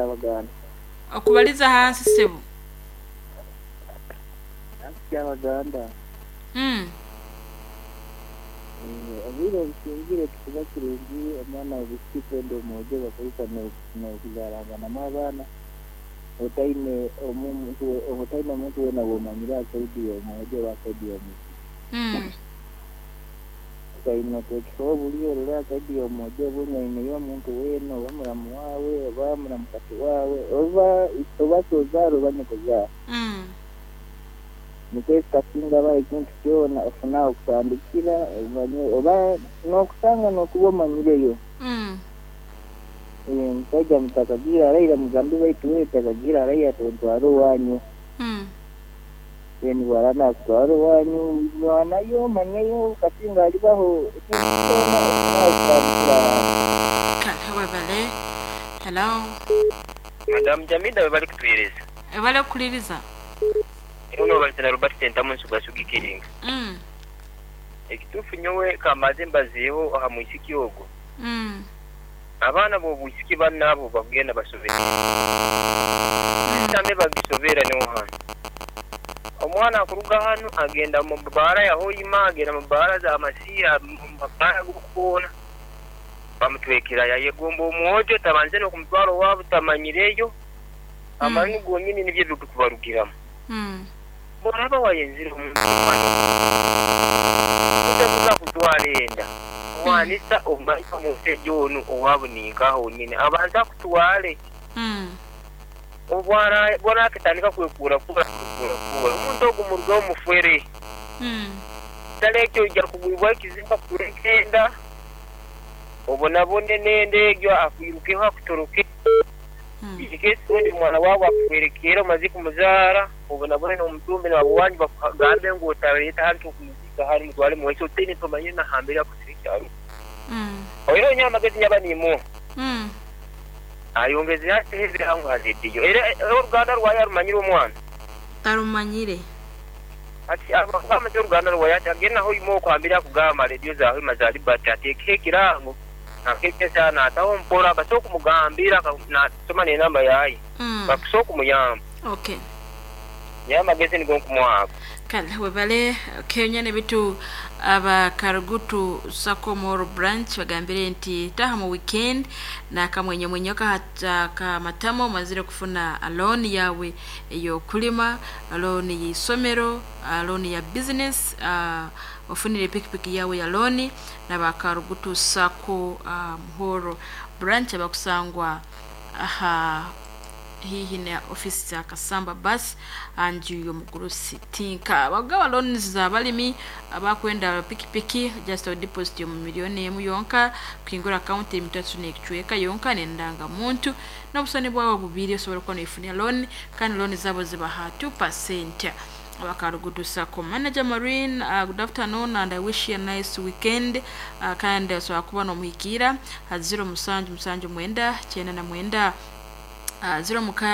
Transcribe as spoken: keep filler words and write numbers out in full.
Kyabaganda. Okubaliza hansi sebo. Nansi Kyabaganda. Mm. Eh, obwire obusingire tukuba kirungi omwana obusiki kwenda omwojo bakozesa n'okuzaranganamu abaana otaine omuntu otaine omuntu weena womanyire asaidi y'omwojo oba asaidi y'omuisiki. Mm. Okaine oteekeho obuli orole asaidi y'omwojo obunywaineyo omuntu weena oba muramu waawe oba muramukasi waawe oba oba sozaara oba nyokozaara. Mm. Nikwo kasinga aba ekintu kyona ofuna okutandikira omanye oba n'okusanga n'okuba omanyireyo. Mm. Eh, Omusaija mutakagiire araira mugambe baitu wewe takagiire araira tontwara owanyu. Mm. Then bwara nakutwara owanyu mwanayo omanyeyo kasinga alibaho ekintu kyona ofuna okutandikira. Kale webale. Hello. Madamu Jamida we bali kutuhereza. Ebale okuliriza. Ono balitana Robert Sentamu nsuga sugikiringa. Mm. Ekituufu nyowe kamaze mbazeeho aha mwisiki ogwo. Mm. Abaana b'obwisiki bannaabo bagenda basobere. Sitambe bagisobera niho hano. Omwana akuruga hano agenda mu baara ya Hoima, agenda mu baara za Masiya, mu mabaara g'okukoona. Bamutwekera yayegomba omwojo tabanze n'okumutwara owaabo tamanyireyo. Amanyi gonyini nibyo ebirikubarugiramu. Mm. Bw'oraba wayenzire omuntu omwana otakuza kutwara enda wanisa omanye omusajja onu owaabo ninkaha onyine abanza akutware. Mm. Obwara bwarakatandika kwekuura kuura kwekuura kuura omuntu ogwo murugaho mufere. Mm. Kitari ekyo ojja kugwibwa ekizimba kutureka enda obonabone n'enda egyo akwirukeho akutoroke. Mm. Ekesi omwana waawe akuhwerekeera omaze kumuzaara obonabone n'omutumbi nabawanyu bakugambe ngu otareeta hanu tukumuzika hanu mutware muwaiso otaine tomanyire nahambere akusire ekyaro. Mm. Oire onye amagezi nyaba niimuha. Mm. Ayongeze ateho ebirango ha rediyo era oruganda rwayo arumanyire omwana. Tarumanyire. Ati abamanye oruganda rwayo ati agende naho oima okwambire akugamba rediyo za Hoima za Liberty ateekeho ekirango nakekesa nataho mpora basobola okumugambira nasoma n'enamba yaye Mm. bakusobola okumuyamba. Okay. Nyowe amagezi nigo nkumuha ago. Kale webale kenya ne bitu aba Karugutu Sacco Moro branch bagambire nti taha mu weekend na kamwenyemwenyo kahata kamatamo mazire kufuna loan yawe eyokulima, loan y'isomero, loan ya business, uh, ofunire pikipiki yawe ya loan na Karugutu Sacco uh, Muhoro branch abakusangwa aha hihi na ofisi za Kasamba bus anju y'omugurusi tinka bagaba loans za balimi abakwenda pikipiki just a deposit yo miliyoni emu yonka kwingura account emitatu n'ekicweka yonka n'endanga muntu n'obusani bwawe bubiri osobola kuba noifunira loan kandi loan zabo zibaha two percent. Abakarugutu Sacco manager Marine, uh, good afternoon and I wish you a nice weekend. uh, kandi osobola kuba n'omuhikiira ha zero musanju musanju mwenda kyenda na mwenda uh, zero mukaaga.